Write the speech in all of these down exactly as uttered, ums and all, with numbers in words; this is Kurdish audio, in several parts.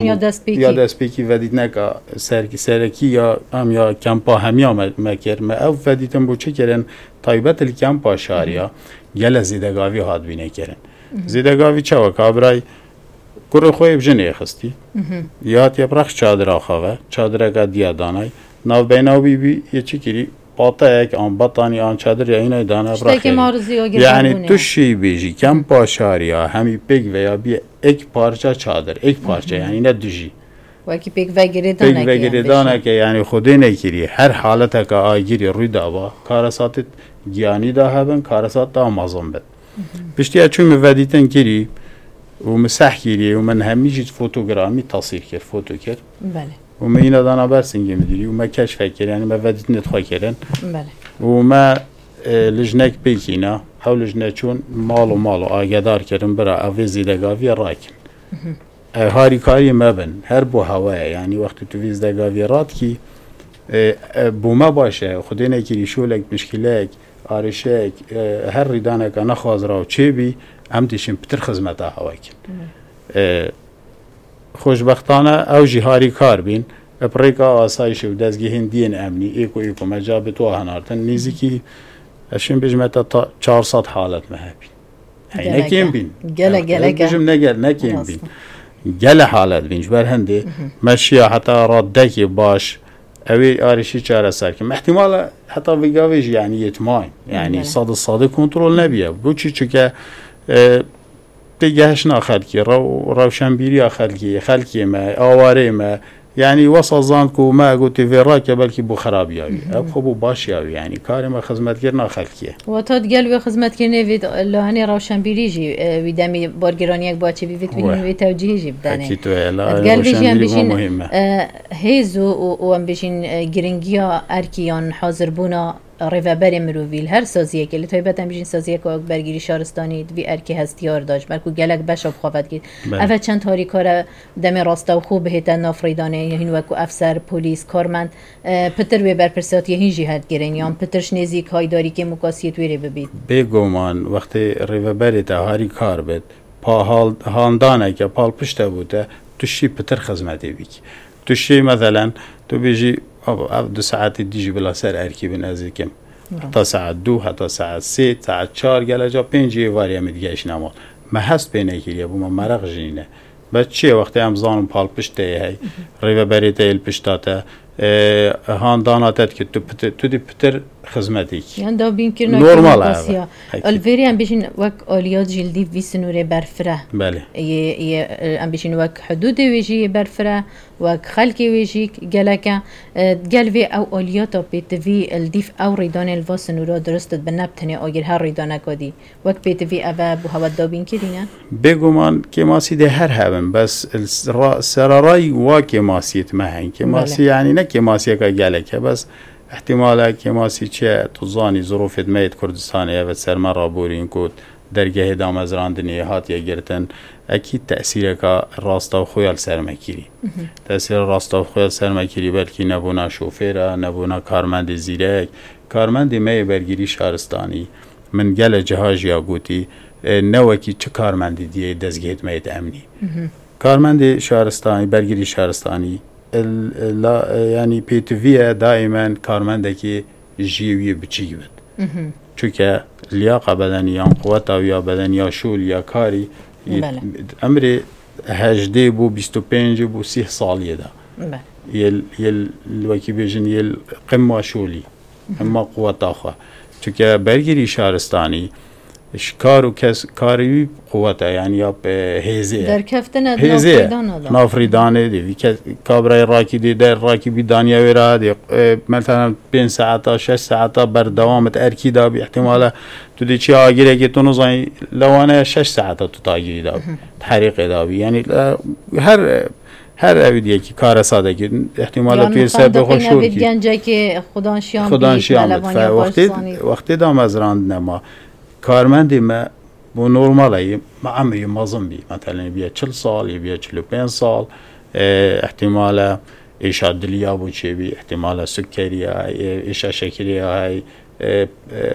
Ya destpêkî. Ya destpêkî vedîtineka serkî, serekî ya em ya kempa hemiya me, me kir. Me ev vedîtin bû çi kirin? Taybet li kempa şariya gele zêdegavî hat bîne kirin. Zêdegavî çawa? Kabirayî kurê xwe yê bi jinê xistî. Yê hatiye bi rex çadira xwe ve, çadireka diya danay. Navbeyna wî bî yê çi kirî? Pateyek an batanî an çadir ya hînay dana bi rexê. Tiştekê maruzî o girvan bûne. Yani tu şî bêjî, kempa şariya hemî pêk veya bîye ek parça çadir, ek parça, yani ne dijî. Wekî pêk ve girêdaneke. Pêk ve girêdaneke, yani Xwedê nekirî, her haleteke agirî rû daba, karesatê giyanî da hebin, karesat da mezin bin. Piştiya çû min vedîtin kirî û min seh kirî û min hemî jî fotogramî tasîr kir, foto kir. Belê. Û me yîna dana ber singê midirî û me keşfek kir, yani me vedîtinê xwe kirin. Belê. Û me, e, lijnek pêkîna, ew lijne çûn mal û mal û agedar kirin, bira ev ê zêdegaviyê rakin. E, harîkariyê me bin, her bo hewaya, yani wextê tu vê zêdegaviyê radikî, e, e, bo me baş e, Xwedê nekirî şolek, mişkilek, arişek, e, her rîdaneke nexwazra û çêbî, em dişin pitir xizmeta hewa kin. E, Xweşbextane ew jî harîkar bîn. Bi rêka asayişê û dezgehên diyên emnî, êko êko me cabê tu hinartin. Nêzîkî, ez şim bêjim, heta ta çar sed halet me hebîn. Hey, ne kêm bîn. Gelek, gelek. Bijim ne gel, ne kêm bîn. Gele halet bîn. Ji ber hindê me şiya heta radekê baş, ew ê arişî çareser kim. Îhtimal e heta vê gavê jî, yani yetmayîn. Yani sed û sedê kontrol nebiye. Bo çi? Çike, e, têgehiştina xelkê, rew-, rewşenbîriya xelkê, xelkê me, awarê me, yanî wesa zan ku me gotê vê rake belkî bo xerabiya wî. Ev xwe bo başiya wî, yanî karê me xizmetkirina xelkê ye. Wata digel wê xizmetkirinê vê lahenê rewşenbîrî jî, e, wî demî bargêraniyek baçî bî, vê dibînin wê tewcîhî jî bidenê. Ekî tu ye, la digel vê jî em rewşenbîrî bêjin, bo muhîm e. E, hêz û, û, û em bêjin, e, giringiya erkî yan hazirbûna rêveberê mirovî li her saziyekê, li taybet em bijîn saziyeka wek bergirî şaristanî, di vî erkê hestiyar de, ji ber ku gelek beşa bi xwe vedikî. Belê. Ev e çend harîkar e demê rastewxo bihête nav rêdanê, hîn wek ku efser, polîs, karmend, e, pitir wê berpirsiyatiyê hîn jî hedigirin, yan pitir ji nêzîk haydarî kêmûkasiyê di wê rê bibît. Bêguman, wextê rêveberê te harîkar bit, pa hal-, handaneke palpişte bû te, tu şî pitir xizmetê bikî. Tu şî, meselen, tu bêjî, "Abo, ev du saetê dî jî bila ser erkî bin, ez ê kim." Heta saet du, heta saet sê, saet çar, geleca pêncî êvarî em ê digihişîne mal. Me hest pê nekiriye, bo me meraq jî nîne. Bes çi ye, wextê em zanin palpişt te yê hey, rêveberê te yê li pişta te, e, handana te dike, tu pitir, tu dî pitir xizmetê kî. Yan dabînkirina kêmûkasiya. Normal e. Li vêrê em bêjin wek aliyat jî li dîv vî sinûrê berfireh. Belê. Yê, yê, em bêjin wek hudûdê wê jî yê berfireh, wek xelkê wê jî gelek e. E, gel vê ew aliyata pêtivî li dîv ew rêdanê li va sinûra dirust dibe, ne bi tenê agir her rêdaneka dî. Wek pêtivî ev e bo hewe dabîn kirîne? Bêguman kêmasî dê her hebin, bes ra-, serarayî wa kêmasiyê me hene. Kêmasî, belê, yanî ne kêmasiyeke gelek e, bes îhtîmal e kêmasî çi ye, tu zanî, zirofê me yê Kurdistanê ev e ser me raborîn ku dergehê damezrandinê hatiye girtin, ekîd tesîreka rastewxo ya li ser me kirî. Tesîra rastewxo ya li ser me kirî belkî nebûna şofêra, nebûna karmendê zîrek, karmendê me yê bergirî şaristanî. Min gele ciha jî ya gotî, e, ne wekî çi karmendê diyê dezgehê me yê emnî. Karmendê şaristanî, bergirî şaristanî, il-, la, e, yanî pêtivî ye daîmen karmendekî jiyê wî yê biçîk bit. Çunke liyaqa bedenî yan quweta wî ya bedenî ya şolî ya karî, yê, belê, emrê hejdê bo bîst û pêncê bo sîh saliyê de. Belê. Yê, yê wekî bêjin yê qimma şolî. Hema quweta xwe. Çunke bergirî şaristanî, ji kar û kes, karê wî quwet e, yanî ya, e, hêzê ye. Derkeftine di nav rêdana de. Hêzê ye. Nav rêdanê de. Vî kes, kabrayê rakî dê der, rakî bî daniye wê re dê, e, mesela pênc saeta, şeş saeta berdewam it erkî da bî, îhtîmal e tu dê çi agirekê tu nizanî, lewane şeş saeta tu tagirî da bî. Terîqê da bî. Yanî, e, her, her ew diyekî karesadekî, îhtîmal e tu yê ser bê xwe şor kî. Gencekê xudan şiyan bî, xudan şiyan bî. Wextê, wextê damezrandine ma, karmendê me bo normal e, me emrî mezin bî. Metelen, yê bîye çil sal, yê bîye çil û pênc sal, e, îhtîmal e êşa dilî ya bo çêbî, îhtîmal e sukkerî ya, e, êşa şekirê ya hey, E, e,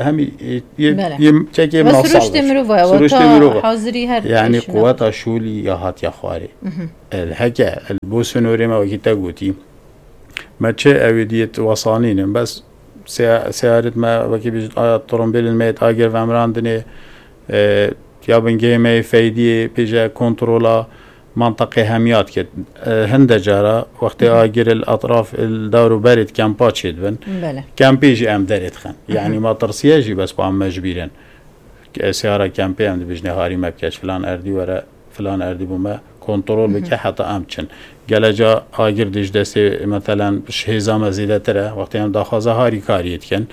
hemî, e, yê, Belê. yê çekê Ve minasal siruştê be. mirov e, Siruştê wata mirov e. hazirî her Yani tişt quweta şûlî ya hatiye xwarê. El heke, el bo sînorê me wekî te gotî. Me çi ew ê diyet wesanînin, bes se-, seyaret me wekî bijît, a, trombêlên me yêt agir vemirandinê, e, ya bingehê me yê feydiyê pêje kontrola mantiqê hemiya dikit. E, hinde cara wextê agir il etraf il dawr û berê di kempa çêdibin. Belê. Kempê jî em derê dixin. Yani ma tirsiye jî bes pa em me ji bîr in. Ke siyara kempê em dibijne harî me bike ji filan erdî were, filan erdî bû me kontrol bike heta em çin. Geleca agir dij destê, metelen, ji hêza me zêdetir e, wextê em daxwaza harîkariyê dikin,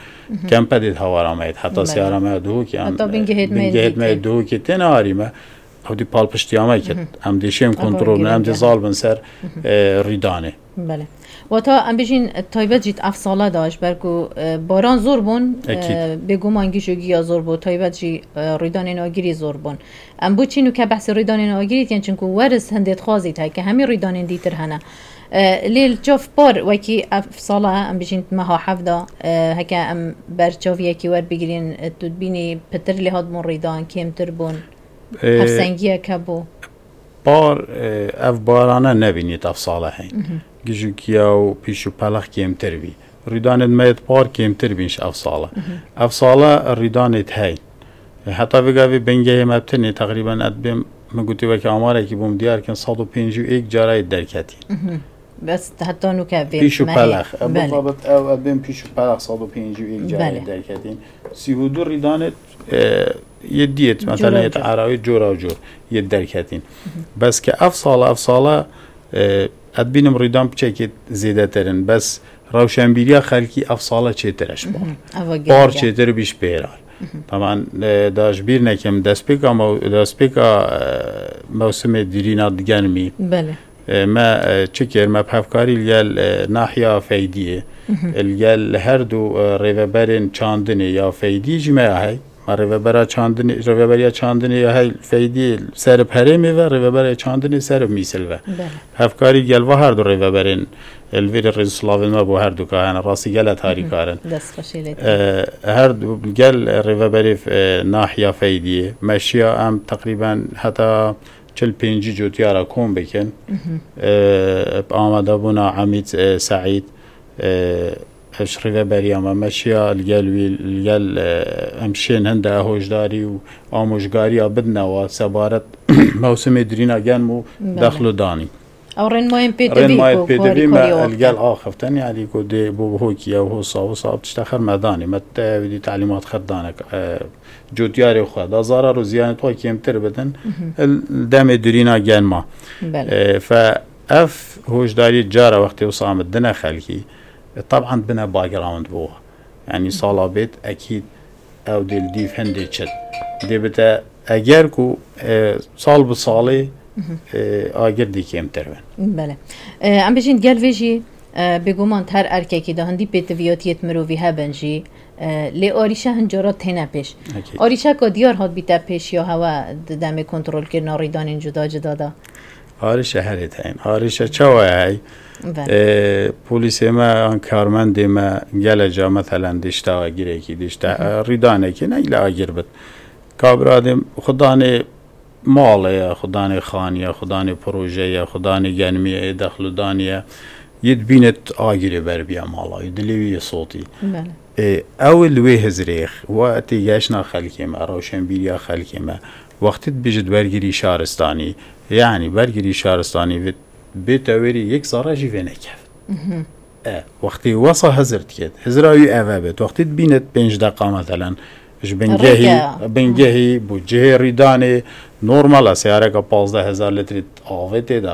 kempe dê hawara me yêt. Heta Belê. siyara me duhokê em, Heta bingehêt me bingehêt me dîtin. duhokê têne harî me. Ew dî palpiştiya me kir. Em dê şêm Ew kontrol bin, em dê girîng e. zal bin ser, e, rîdanê. Belê. Wata em bijîn taybet jî ev sala da ji ber ku, e, baran zor bûn, Ekîd. e, bêguman gîj û giya zor bû, taybet jî, e, rîdanên agirî zor bûn. Em bo çî nûke behsê rîdanên agirî dikin, çinku weriz hindê dixwazît heke hemî rîdanên dîtir hene. E, lê li çav par wekî ev sala em bijîn meha hevda, e, heke em ber çaviyekî werbigirîn, e, tu dibînî pitir lê hatbûn rîdan, kêmtir bûn. E, Hevsengiyek hebû. Par, e, ev barane nebînît ev sala heyn. Gijûkiya û pîş û pelex kêmtir bî. Rîdanên me yêt par kêmtir bîn ji ev sala. Ev sala rîdanêt heyn. E, heta vê gavê bingehê me bi tinê teqrîben ez dibêm, min gotî weke amarekî bûm diyar kin, sed û pêncî û yek cara yêt derketîn. Bes heta nûke vê Pîş û mehê. pelex. E, Belê. Bixabit ew, e, bên pîş û pelex sed û pêncî û yek carê Belê. derketîn. Sî û du rîdanê, e, yê diyêt, Cora mesela yê cor. Erawî cora cor yê derketîn. Bes ke ev sala, ev sala, e, ez dibînim rîdan piçekê zêdetir in. Bes rewşenbîriya xelkî ev sala çêtir e ji par. Eva Par girîng e. çêtir bî ji pêran. Taban, e, da ji bîr nekim destpêka mew-, destpêka, e, mewsimê dirîna digenimî. Belê. E, me, e, çi kir? Me bi hevkarî li gel, e, nahiya Feydiyê, li gel her du, e, rêveberên çandinê ya Feydî jî me ya hey. Me rêvebera çandinê, rêveberiya çandinê ya hey Feydî ser bi herêmê ve, rêveberiya çandinê ser bi mîsil ve. Belê. Hevkarî li gel va her du rêveberên, e, li vêrê rêz û silavên me bo her du ka hene, rastî gele tarîkar in. Dest xweşî lê E, her du gel rêveberê, e, nahiya Feydiyê. Me şiya em teqrîben heta çil pêncî cotyara kom bikin. E, bi amadebûna Emîd, e, Seîd, e, ev ji rêveberiya me, me şiya li gel wî, li gel, e, em şên hinde hoşdarî û amojgariya bidine wa sebaret mewsimê dirîna germ û Belê. dexl û danî. Ew rênmayên pêtivî Rênmayên ku pêtivî me karîkariya li gel wextê. axiftin, yanî ku dê bo hokî ew hosa, hosa ev tişta xir me danî. Me te wî dî telîmat xir dane, e, cotyarê xwe da zarar û ziyanê xwe kêmtir bidin. Li demê dirîna germa. Belê. E, fe ev hoşdarî cara wextê wisa em dine xelkî, e, taban bine background bo. Yanî sala bêt, ekîd ew dê li dîv hindê çit. Dê bite eger ku, e, sal bi salê, e, agir dê kêmtir bin. Belê. E, em bijîn gel vê jî, e, bêguman her erkekî de hindî pêtiviyatiyêt mirovî hebin jî, e, lê arîşe hin cara têne pêş. Ekîd. Arîşeka diyar hat bîte pêş ya hewe di demê kontrolkirina rîdanên cuda cuda de? Arîşe herê te hên. Arîşe çawa ye hey? Belê. E, polîsê me an karmendê me gele ca, meselen, dişta agirekî, dişta, e, rîdanekî, ne île agir bit. Kabra dê xudanê malê ye, xudanê xaniye, xudanê projeye, xudanê genimiye, ê dexludanî ye. Yê dibîne agirê berbiye mala, yê dilê wî yê sotî. Belê. Ê, ew li wê hizrê, we têgehişna xelkê me, rewşenbîriya xelkê me. Wextê dibêjit bergirî şaristanî, yanî bergirî şaristanî vê, bê tewêrî yek zerre jî vê nekevit. E, wextê wesa hizir diket, hizra wî ev e bêt. Wextê dibînit pênc deqa, meselen, ji bingehî, Rêke. bingehî bû cihê rîdanê, normal e, seyareka pazdeh hezar litrî avê tê de.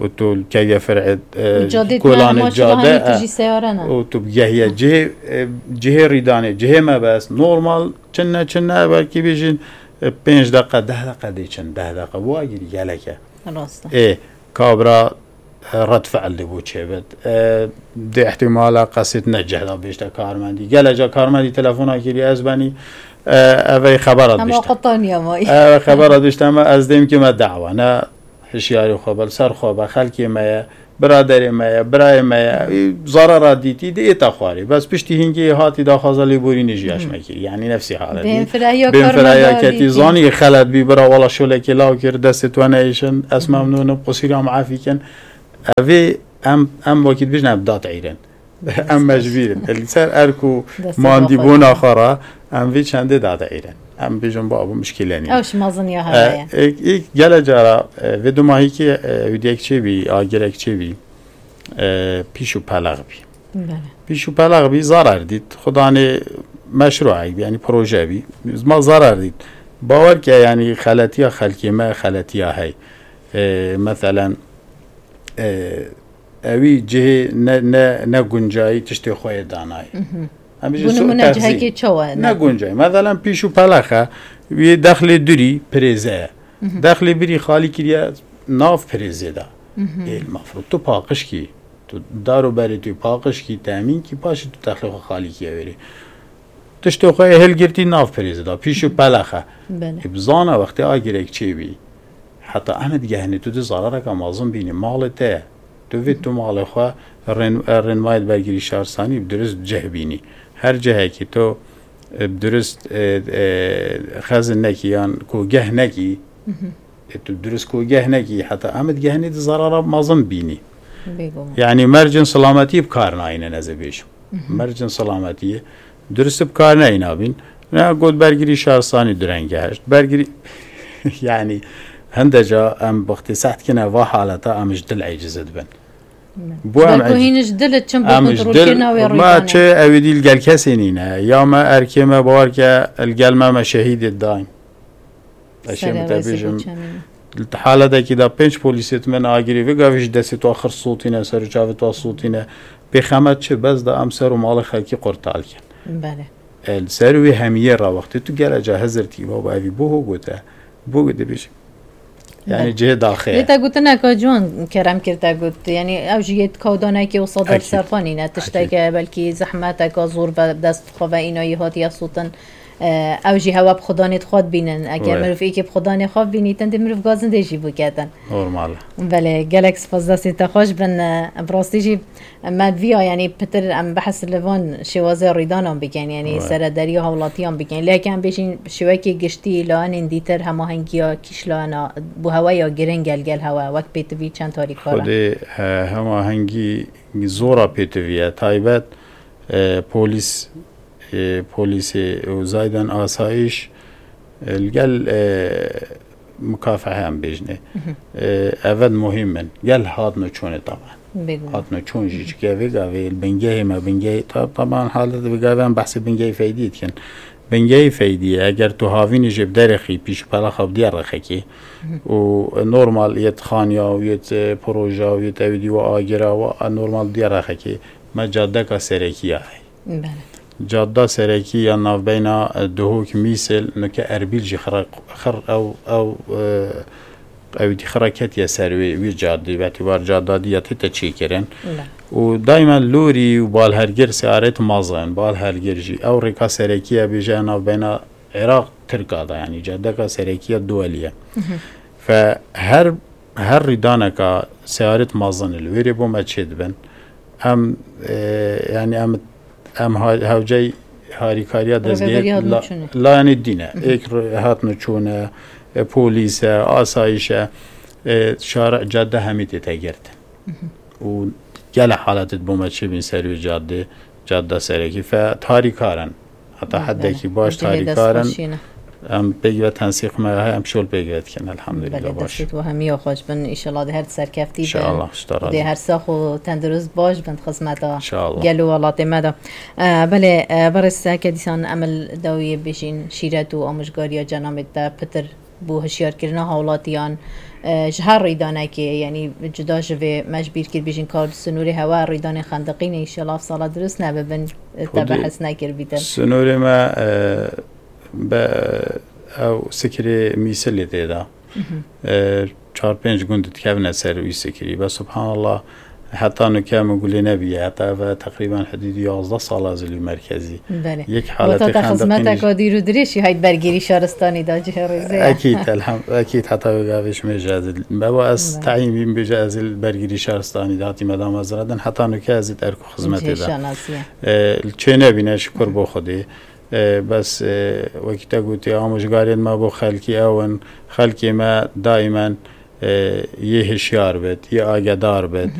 Û tu li kevye fir'ê, e, Cadê kolanê tine, cade, maşallah, e, tu jî seyare ne. û tu bigehiye cihê, e, cihê rîdanê, cihê mebest, normal, çinne, çinne, belkî bêjin, e, pênc deqe, deh deqe dê çin, deh deqe, bu agirî gelek e. Rast e. Ê, kabra, e, red fi'l dê bo çêbit. E, dê ihtimala qesêt ne cih da bêjte karmendî. Geleca karmendî telefona kiriye ez benî, e, evey xebera Ama dişte. qetaniye may. Ev xebera dişte me ez dêm ki me dawa. Ne hişyarî xwe be, li ser xwe be, xelkê me ye. Biraderê me ye, birayê me ye, zarara dîtî, di êta xwarê. Bes piştî hingê hatî daxwaza lêborînê jî ya ji me kirî. Yanî nefsî haletî. Bênfirahiya Bênfirahiya karmenda ketî, dîtî. Zanî xelet bî, bira wala şolekê law kir, destê tu neyêşin, ez memnûn im, qusîra min efî kin. Evê em, em wekî dibêjin, em dat eyrin. Em mecbîr in. Li ser erk û Destê mandîbûna xwe re em vê çendê dade eyrin. Em bêjin, ba, bû mişkîle nîne. Ew ji mezin ya E, heye. êk, êk gele cara, e, vê dumahîkê, e, hûdiyek çêbî, agirek çêbî, e, pîş û pelex bî. Belê. Pîş û pelex bî, zarar dît. Xudanê meşruek bî, yanî proje bî. Ma zarar dît. Bawer ke, yanî xeletiya xelkê me, xeletiya hey. E, meselen, e, ewî cihê ne, ne, ne guncayî tiştê xwe yê danayî. Mhm. Em bêjin Bû su nimûne terzî. Cihekê çawa Ne ne? Guncayî. Meselen pîş û pelexe, wî dexlê durî pirêze ye. Mhm. Dexlê birî xalî kiriye nav pirêzê de. Mhm. Ê, mafrû tu paqij kî, tu dar û berê tu paqij kî, temîn kî, paşê tu dexlê xwe xalî kiye wêrê. Tiştê xwe yê hilgirtî nav pirêzê de, pîş û pelexe. Belê. Ê, bizana wextê agirek çêbî. Heta em digehinî tu di zarareka mezin bînî, malê te ye. Tu vê tu malê xwe rên-, rênmayê bergirî şarsanî bi dirist cih bînî. Her cihekî tu, e, bi dirist, e, e, xezin nekî yan kogeh nekî, Mhm. e, tu dirist kogeh nekî, heta em digehinî di zarara mezin bînî. Bêguman. Yanî mercên selametiyê bi kar nayînin, ez ê bêjim. Mhm. Mercên selametiyê dirist bi kar neyna bîn. Ne got bergirî şarsanî direng geheşt. Bergirî, yanî hinde ca em wextê seh dikine va haleta, em ji dil eciz dibin. Bo em Belku eciz hîn ji dil çim bo em ji dil, kontrolkirina wê ma rûdanê. Çi ew ê dî li gel kesê nîne. Ya me erkê me bawer ke li gel me me şehîdê dayîn. Ez Serê şême te rêzê bêjim, bû çemî. Li haletekî de pênc polîsê di min agirî, vê gavê ji destê tu xir sotîne, ser û çavê tu sotîne. Pêxemet çi? Bes da em ser û malê xelkî qurtal kin. Belê. E, li ser wê hemiyê re wextê tu gele ca hizir tî, baba evî bo ho gote. Bo gote bêjim. Yanî Belê. Cihê daxê ye. Lê te gotineka ciwan kerem kir te got. Yanî ew jî yê kawdanekê û sedar Ekîd. Serxwe nîne. Tişteke Ekîd. Belkî zehmeteka zor ve dest xwe ve înayî hatiye sotin. E, ew jî hewa bi xudanê xwe dibînin. Eger We. Mirov êkê bi xudanê xwe bibînîtin, dê mirov gazindê jî biketin. Normal e. Belê, gelek spas, destên te xweş bin. E, bi rastî jî me viya, yanî pitir em behs li van şêwazê rîdanan bikin, yanî We. Serederiya hawlatiyan bikin. Lê heke em bêjin şêwekê giştî, layenên dîtir hemahengiya kîşlayana bo hewe ya giring gel gel hewe, wek pêtivî çend tarîkar e. Xwedê, e, hemahengî zora pêtivî ye. Taybet, e, polîs e, polîsê û zayden asayîş, e, li gel, e, mukafehe em bêjinê. Mhm. E, evet muhîm in. Gel hatno çûnê taban. Bêguman. Hatno çûn jî çike vê gavê li bingehê me, bingehê ta-, taban halet vê gavê em behsê bingehê feydî dikin. Bingehê feydî ye. Eger tu havînî jê bi derê xî pîş û pelaxa bi diya rexekê Mhm. û normal yê xaniya û yê, e, proja û yê ewî dî we agira we, e, normal diya rexekê me cadeka serekî ya heye. Belê. Cadda serekî ya navbeyna, e, Duhok Mîsil, nuke Erbîl jî xira, xir ew, ew, e, ew dî xira ketiye ser wê, wî cadî, vetî war cadda dî ya tête çêkirin. Belê. Û daîma lorî û balhergir seyaret mazin, balhergir jî. Ew rêka serekî ye bêje navbeyna Iraq Tirka da, yanî cadeka serekî ya duwelî ye. Mhm. Fe her, her rîdaneka seyaret mazin li wêrê bo me çêdibin. Em, e, yanî em, em ha-, hewcey harîkariya dezgehê Rêveberiya la-, hatnûçûnê. Layanê dîne. Mhm. Êk re-, hatnûçûne, e, polîs e, asayîş e, e, şare, cadde hemî tête girtin. Mhm. Û gele halet bo me çêbîn ser wê cadde, cadde serekî fe tarîkar in. Heta Belê, hedekî belê. Baş Cihê tarîkar in. Destxweşî ne. Em pêk ve tensîq me heye, em şol pêk ve dikin. Elhamdulillah, Belê, baş. Destê we hemiya xweş bin. Înşallah dê her serkeftî bin. Înşallah, ji te razî. Dê her sax û tendurist baş bin xizmeta Înşallah. Gel û welatê me de. E, belê, e, berêz, heke dîsan em li dawiyê bêjîn şîret û amûjgariya cenabê te pitir bo hişyarkirina hawlatiyan, e, ji her rîdanekê, yanî cuda ji vê me ji bîr kir bêjin ka li sînorê hewe rîdanên xendiqînê, înşallah sala dirust nebibin, e, te Xwedê behs nekir bîtin. Sînorê me, e, be, ew sikirê Mîsilê tê de. Mhm. E, çar pênc gund dikevine ser wî sikirî. Be subhanallah, Heta nuke min gulê nebîye. Heta eve teqrîben hidûdî yazdeh sal ez li merkezî. Belê. Yek Wata haletê te xendeqîn xizmeteka dîr û dirêjî hayt bergîrî şaristanî da cihê rêzê ye. Ekîd, elhem, ekîd heta wê gavê ji me jî ez il. Beva ez Belê. Teyîn bîm bêje ez il bergîrî şaristanî de hatîme damezrandin. Heta nuke ez î erk û xizmetê de. Cihê şanasî ye. E, li çê nebîne şikur bo Xwedê. E, bes, e, wekî te gotî, amojgarên me bo xelkî ew in. Xelkê me daîmen, e, yê hişyar bit, yê agedar bit.